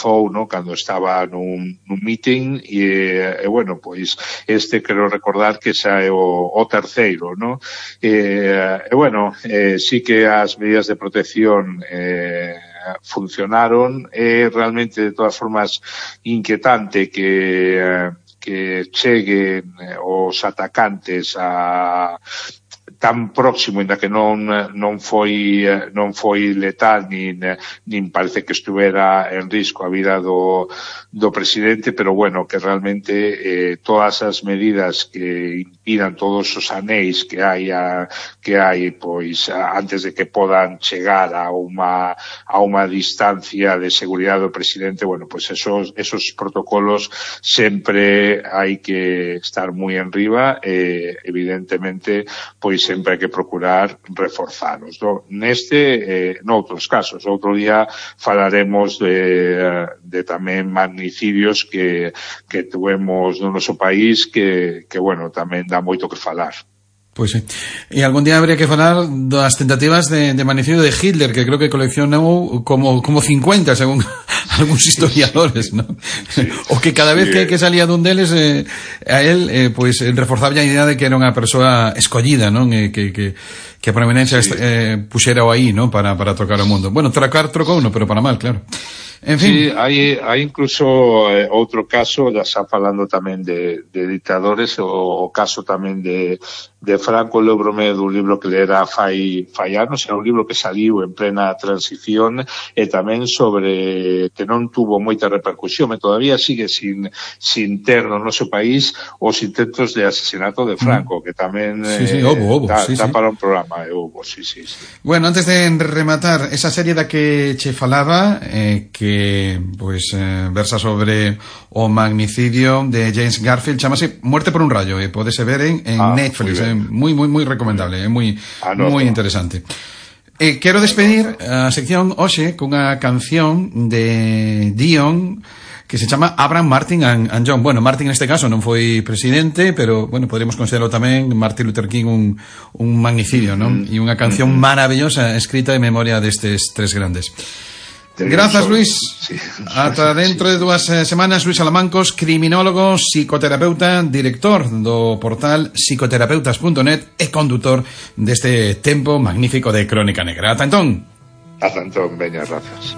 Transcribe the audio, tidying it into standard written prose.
desabafou, no, cando estaba nun meeting e bueno, pois quero recordar que xa é o terceiro, no? Bueno, sí que as medidas de protección funcionaron. Realmente, de todas formas, inquietante que cheguen os atacantes a tan próximo, ainda que non foi letal nin parece que estuvera en risco a vida do presidente, pero bueno, que realmente todas as medidas que impidan todos os anéis que hai pois antes de que podan chegar a unha distancia de seguridade do presidente, bueno, pois esos protocolos sempre hai que estar moi enriba e evidentemente pois sempre hai que procurar reforzalos, no? Noutros casos. Outro día falaremos de tamén magnicidios que tuvemos no noso país que bueno, tamén dá moito que falar. Pois sí. E algún día habría que falar das tentativas de magnicidio de Hitler, que creo que coleccionou como 50, según algúns historiadores, ¿no? Sí. O que cada vez que salía dun deles a él, pois reforzaba a idea de que era unha persoa escollida, non? Que a prominencia puxera o aí, ¿no? Para trocar o mundo. Bueno, trocou uno, pero para mal, claro. En fin. Sí, hai incluso outro caso, ya xa falando tamén de dictadores, o caso tamén de Franco. Lembro-me dun libro que lera fai anos, era un libro que saliu en plena transición e tamén sobre que non tuvo moita repercusión e todavía sigue sin ter no noso país os intentos de asesinato de Franco, que tamén dá para un programa, sí. Bueno, antes de rematar esa serie da que che falaba, que pois versa sobre o magnicidio de James Garfield, chamase Muerte por un rayo, podese ver en Netflix, moi recomendable, moi interesante. Quero despedir a sección hoxe cunha canción de Dion que se chama Abraham, Martin and John. Bueno, Martin neste caso non foi presidente, pero bueno, podríamos considerarlo tamén Martin Luther King un magnicidio, non? E unha canción maravillosa escrita en memoria destes tres grandes. Grazas, Luis. Sí. Ata dentro de 2 semanas. Luis Alamancos, criminólogo, psicoterapeuta, director do portal psicoterapeutas.net e condutor deste tempo magnífico de Crónica Negra. Ata entón, veña, grazas.